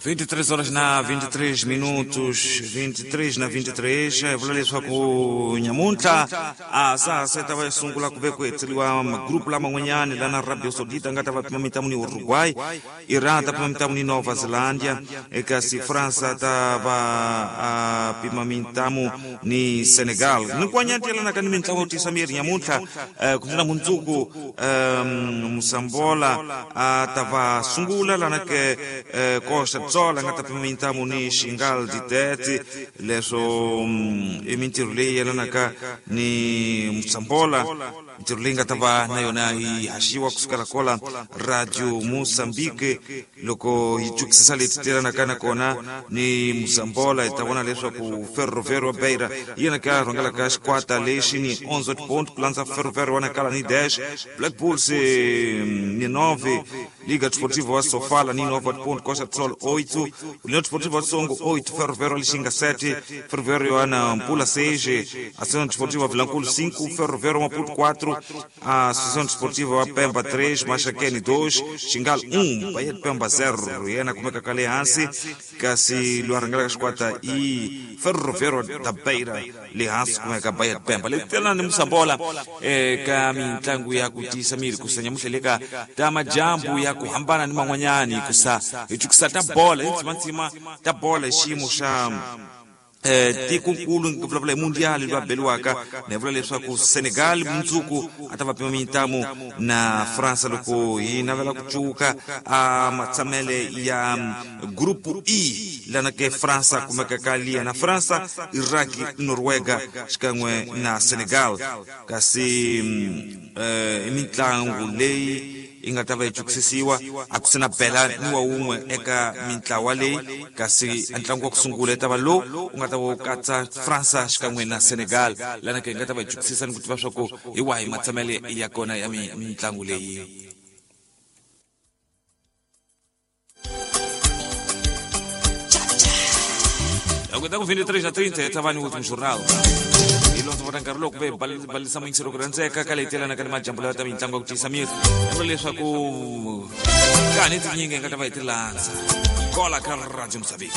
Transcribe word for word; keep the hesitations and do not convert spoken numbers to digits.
vinte e três horas na vinte e três minutos, vinte e três na vinte e três, vula leswaku nyamuntlha a sa se ta va sungula ku ve ku hetseliwa magrupu lama n'wanyani lana Arabia Saudita nga ta va pima mintamu ni Uruguay, Iran ta pima mintamu ni Nova Zelândia, kasi França ta va a pima mintamu ni Senegal. Ni yelanaka ni mintlangu yo tisa miri nyamuntlha ku ndlela mundzuku Musambola a ta va sungula lana ke Costa Tsola nga ta pima mintamu ni Xingal Ditete, leswo i mintirho leyi yelanaka ni Musambola, mintirho leyi nga ta va na yona yi haxiwa kusukela kola Radio Mozambique. Loko yi twisisa leti telanaka na kona ni Musambola, hi ta vona leswaku Ferroviário wa Beira yena ka rhangelaka xikwata lexi ni onze ponto, ku landza Ferroviário wa Nacala ni dez, Black Bulls ni nove, Liga Desportiva wa Sofala ni nove ponto, Costa do Sol oito, União Desportiva wa Songo oito, Ferroviário Lixinga sete, Ferroviário wa Nampula seis, Associação Desportiva Vilanculo cinco, Ferroviário Maputo quatro, Associação Desportiva wa Pemba três, Maxaquene dois, Xingal um, Bahia de Pemba zero. Yena kumeka kale hansi kasi lwa xikwata i Ferroviário da Beira le hansi kumeka Bahia de Pemba. Le telana ni Musambola eka mintlangu ya ku tiyisa miri kusa nyamuhla le ka ta majambu ya ku hambana ni man'wanyani kusa hi twisisa ta bola hi ntsimantsima ta bola hi xiyimo xa tikonkulu ku vulavula hi mundial loyi a beliwaka na vula leswaku Senegal mundzuku a ta va pima mintamu na França loko hi navela ku cuka a matshamele ya grupu E lana ke França kumeka ka liya na França, Iraq, Noruega xikan'we na Senegal. Kasi i mitlangu leyi yi nga ta va yi twisisiwa a ku sina bela ni wa wun'we eka mintlawa leyi, kasi ntlangu wa ku sungula yi ta va lowu u nga ta va wu katsa França xikan'we na Senegal lana ke hi nga ta va yi twisisa ni ku tiva swa ku hi wahi matshamele ya kona ya mitlangu leyi. Agora com vinte e três a trinta, estava no último jornal. E lonto vota nkarhi loko ve balisa muyingiselo ku rhandzeka ka leyi telanaka ni majambu lawa ta mitlangu ya ku tiyisa miri. Vula leswaku kani tinyingi hi nga ta va hi ti landza kola ka Radio Mozambique.